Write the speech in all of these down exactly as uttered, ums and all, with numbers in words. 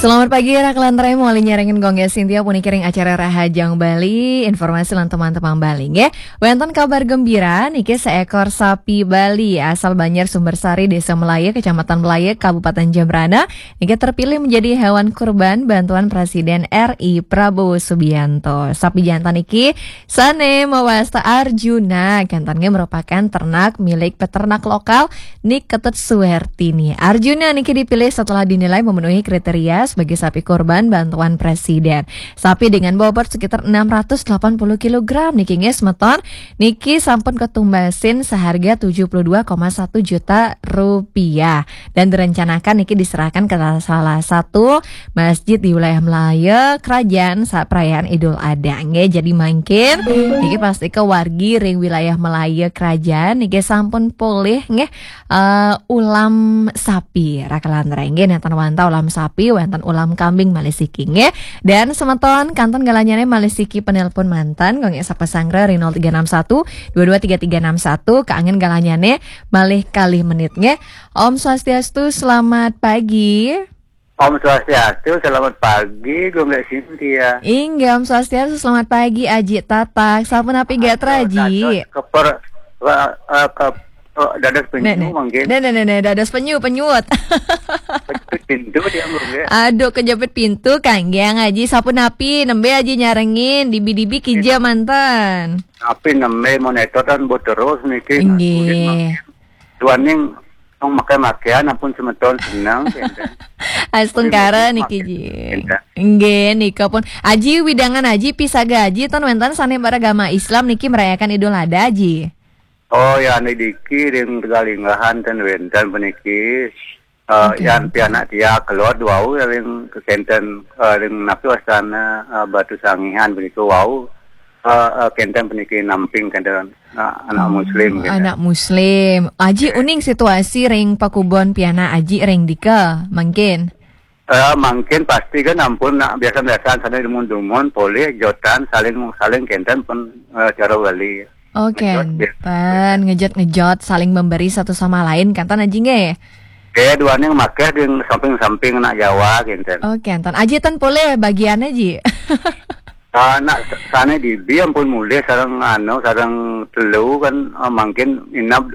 Selamat pagi, Raka lan Rai, mawali nyarengin Gong Gé Sintia puniki ring acara Rahajeng Bali, informasi lan teman-teman Bali, nggih. Wénten kabar gembira, niki seekor sapi Bali asal Banjar Sumber Sari, Desa Melaya, Kecamatan Melaya, Kabupaten Jembrana, niki terpilih menjadi hewan kurban bantuan Presiden R I Prabowo Subianto. Sapi jantan niki sané mawasta Arjuna, kénten nggih merupakan ternak milik peternak lokal Ni Ketut Suwertini. Arjuna niki dipilih setelah dinilai memenuhi kriteria sebagai sapi kurban bantuan presiden. Sapi dengan bobot sekitar enam ratus delapan puluh kilogram niki, nggih, semeton, niki sampun ketumbasin seharga tujuh puluh dua koma satu juta rupiah dan direncanakan niki diserahkan ke salah satu masjid di wilayah Melaya, kerajaan, saat perayaan Idul Adha. Nggih, jadi mangkin niki pasti ke wargi ring wilayah Melaya, kerajaan niki sampun polih, nggih, eh, ulam sapi, Raka lan Rai, nggih, nénten wantah ulam sapi, wénten ulam kambing malih siki, nggih. Dan semeton kantun galahnya malih siki penelpon manten, nggih, sapa sanggra ring nol tiga enam satu dua dua tiga tiga enam satu, kaanggén galahnya malih kalih menit, nggih. Om Swastiastu, selamat pagi. Om Swastiastu, selamat pagi, Gong Gé Sintia. Inggih, Om Swastiastu, selamat pagi, Aji Tatak. Sapunapi gatra, Aji? Dados keper, eh, eh, ke, eh, dados penyu mangkin. Né, né, né, né, dados penyu, penyut. Penyut pintu dia, Gong Gé. Aduh, kejepit pintu, kanggé, Aji. Sapunapi, nembé Aji nyarengin, dibi-dibi kija manten. Tapi nembé monitor kan bu terus niki. Inggih. Duaning nong makai-makaian ampun semeton seneng, kénten. Astungkara niki, Ji. Kénten. Nggih, nika pun. Aji, widangan Aji, pisaga Aji, ten wénten sané beragama Islam niki merayakan Idul Adha, Ji? Oh, ya, niki ring Tegalinggahan ten wénten puniki. Eh, yan pianak tiang keluar wau ring kénten, eh, ring napi wastana, eh, Batu Sangihan begitu wau. Eh, eh, kénten puniki namping kénten, eh, anak muslim kénten. Anak muslim. Aji, uning situasi ring pakubon pianak Aji ring dika, mangkin? Eh, mangkin pasti kan ampun nak biasa-biasa sané dumun-dumun, polih jotan saling, saling kénten pun, eh, cara Bali. Oh, ngejot, kénten. Ngejot-ngejot, saling memberi satu sama lain, kénten Aji nggih? Eh, duaning makéh di samping-samping anak Jawa, kénten. Oh, kénten. Aji ten polih bagiané, Ji? Ah, nak sané dibi ampun mulih sareng anu, sareng telu kan, ah, mangkin inap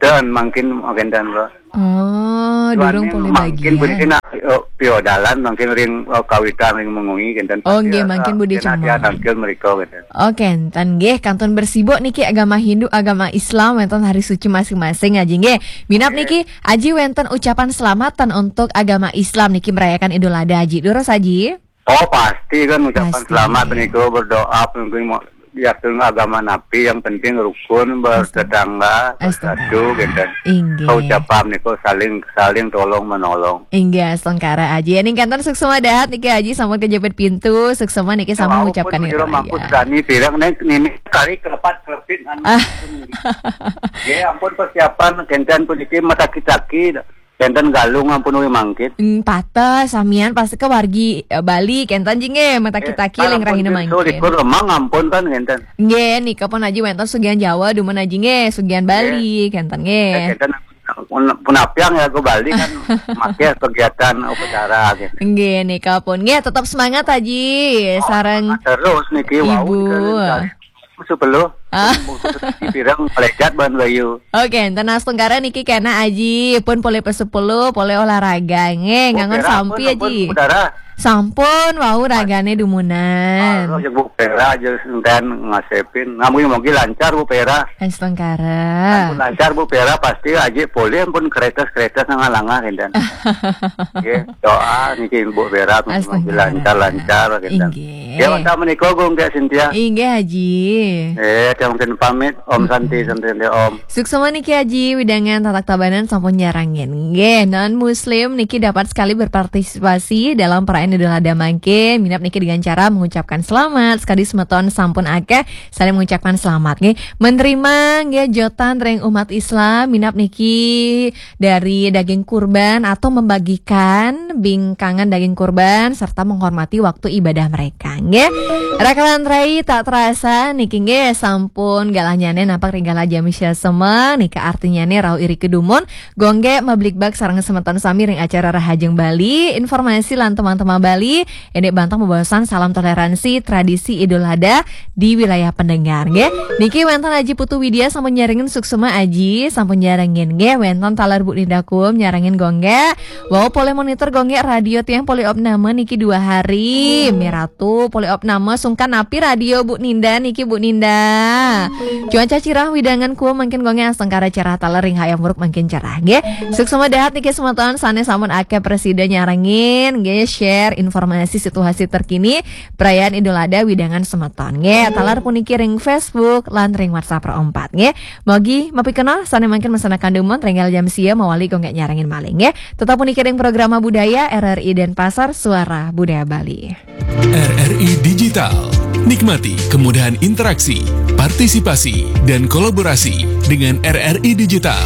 ten mangkin kénten, Bro. Oh, durung polih bagian. Mangkin puniki nak, eh, piodalan mangkin ring, eh, kawitan ring mengui kénten. Oh, nggih, mangkin budé cemeng. Tangkil mriko kénten. Oh, kénten nggih, kantun bersibuk niki agama Hindu, agama Islam, wénten hari suci masing-masing, Aji nggih. Minab niki, Aji, wénten ucapan selamat ten untuk agama Islam niki merayakan Idul Adha, Aji. Durus, Aji? Oh, pasti kan ucapan selamat niku, berdoa mungkin mau yakin agama napi, yang penting rukun, bertetangga, bersatu, kénten. Inggih. Ucapan niku saling, saling tolong menolong. Inggih, astungkara Aji. Ning kénten suksma dahat niki Aji sampun kejepit pintu, suksma niki sampun ngucapkan Idul Adha. Mangku sami pirang ning nini kari kelepat kelepit anu. Ah. Nggih, ampun persiapan kénten puniki mataki-taki. Kénten galung ampun uwi mangkin. Hmm, pateh, samian pasti ke wargi, eh, Bali, kénten Ji nggih, mataki-taki ling rahina mangkin. Likur lemang ampun kan kénten. Nggih, nika pun Aji wénten sugihan Jawa, dumun Aji nggih, sugihan Bali, kénten nggih. Eh, kénten pun, pun apiang ya ke Bali kan, maké kegiatan upacara gitu. Nggih, nika pun. Nggih, tetap semangat Aji, sareng terus niki, wau, Ibu. Sepuluh. Ah. Pirang pelejat ban bayu. Oke, ten astungkara niki kena Aji, pun polih pesepuluh, polih olahraga nggih, ngangon sampi Aji. Sampun, wau ragané dumunan. Ah, Bu Pera aja enten ngasepin. Ngamugi-mugi lancar Bu Pera. Astungkara. Ampun lancar Bu Pera, pasti Aji polih ampun keretes-keretes ngalangah kénten. Nggih, doa niki Bu Pera mugi lancar-lancar kénten. Inggih. Ya, wantah menika, Gung, Kak Sintia. Inggih, Aji. Eh, dia mungkin pamit. Om Santi, Santi, Santi, Om. Suksma niki Aji, widangan Tatak Tabanan sampun nyarengin. Nggih, non muslim niki dapat sekali berpartisipasi dalam perayaan Idul Adha mangkin. Minab niki dengan cara mengucapkan selamat. Sekali semeton sampun akeh, saling mengucapkan selamat nggih. Menerima nggih jotan ring umat Islam, minab niki dari daging kurban atau membagikan bingkangan daging kurban serta menghormati waktu ibadah mereka nggih. Raka lan Rai, tak terasa niki nggih sampun Pun galahnyane napak ring galah jami sia semeng, nika artinyane rauh iri kedumun, Gong Gek mablikbak sareng semeton sami ring acara Rahajeng Bali, informasi lan temang-temang Bali, indik bantang bebaosan salam toleransi, tradisi Idul Adha di wilayah pendengar, nggih. Niki wenten Aji Putu Widya sampun nyarengin, suksma Aji, sampun nyarengin, nggih. Wenten taler Bu Ninda Kuum nyarengin Gong Gek. Wau polih monitor Gong Gek radio tiang polih opname niki dua hari. Miratu polih opname sungkan napi radio Bu Ninda niki, Bu Ninda. Cuaca cirah widangan kuum mangkin Gong Gek, astungkara cerah taler ring Hayam Wuruk mangkin cerah, nggih. Suksma dahat niki semeton sane sampun akeh prasida nyarengin, nggih, share informasi situasi terkini perayaan Idul Adha widangan semeton, nggih. Taler puniki ring Facebook lan ring WhatsApp Pro empat, nggih. Mogi mapikenoh sane mangkin mesanakan dumun ring galah jam sia mawali Gong Gek nyarengin malih, nggih. Tetap puniki ring Programa Budaya R R I Denpasar, Suara Budaya Bali. R R I Digital. Nikmati kemudahan interaksi, partisipasi, dan kolaborasi dengan R R I Digital.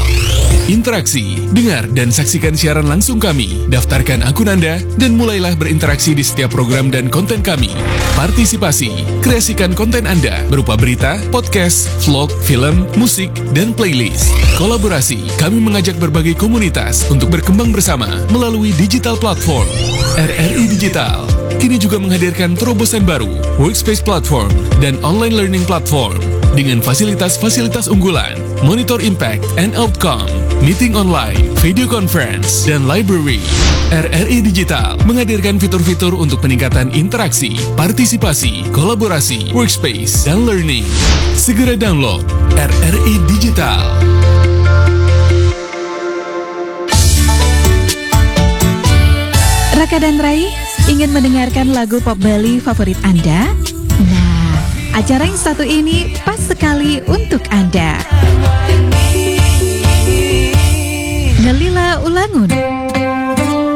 Interaksi, dengar dan saksikan siaran langsung kami. Daftarkan akun Anda dan mulailah berinteraksi di setiap program dan konten kami. Partisipasi, kreasikan konten Anda berupa berita, podcast, vlog, film, musik, dan playlist. Kolaborasi, kami mengajak berbagai komunitas untuk berkembang bersama melalui digital platform. R R I Digital kini juga menghadirkan terobosan baru, workspace platform, dan online learning platform dengan fasilitas-fasilitas unggulan, monitor impact and outcome, meeting online, video conference, dan library. R R I Digital menghadirkan fitur-fitur untuk peningkatan interaksi, partisipasi, kolaborasi, workspace, dan learning. Segera download R R I Digital. Raka dan Rai, ingin mendengarkan lagu pop Bali favorit Anda? Nah, acara yang satu ini pas sekali untuk Anda. Ngelila Ulangun.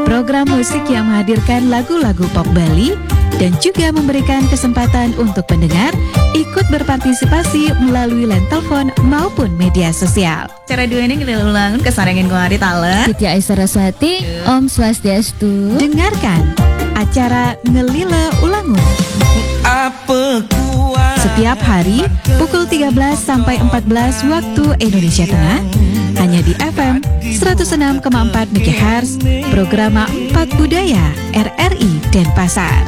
Program musik yang menghadirkan lagu-lagu pop Bali dan juga memberikan kesempatan untuk pendengar ikut berpartisipasi melalui line telepon maupun media sosial. Acara duene Ngelila Ulangun kasarengin kemarin taler. Titi Aisyah Saraswati, Om Swastiastu. Dengarkan acara Ngelila Ulangun. Setiap hari pukul tiga belas sampai empat belas waktu Indonesia Tengah, hanya di F M seratus enam koma empat megahertz, Programa empat Budaya R R I Denpasar.